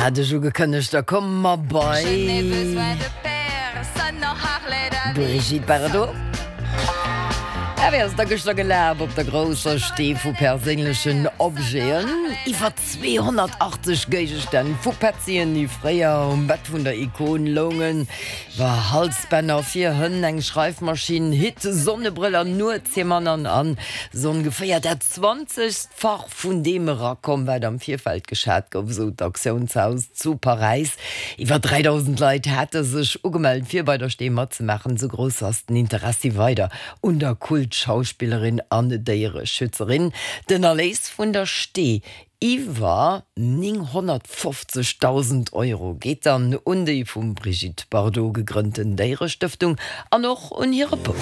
Hat ech ugekënnegt, da komme mer bei Brigitte Bardot. A wéi ass et da gëschter gelaf op der grousser Stee vu perséinlechen Objeten? Iwwer 280 Géigestänn vu Petzien, déi fréier um Bett vun der Ikon loungen, iwwer Halsbänner fir Hënn, eng Schreifmaschinn, Hitt, Sonnebrëller, Nuetshiemann an an sou ongeféier dat 20. Fach vun deem erakomm, wat am Virfeld geschat gouf, esou d'Auktiounshaus zu Paräis. Iwwer 3.000 Leit hate sech ugemellt, fir bei der Stee matzemaachen. Esou grouss ass den Interessi weider un der Kult-Schauspillerin an Déiereschützerin. Den Erléis vun der Stee, iwwer 950.000 Euro, geet dann un déi vum Brigitte Bardot gegrënnten Déierestëftung an och un hire Bouf.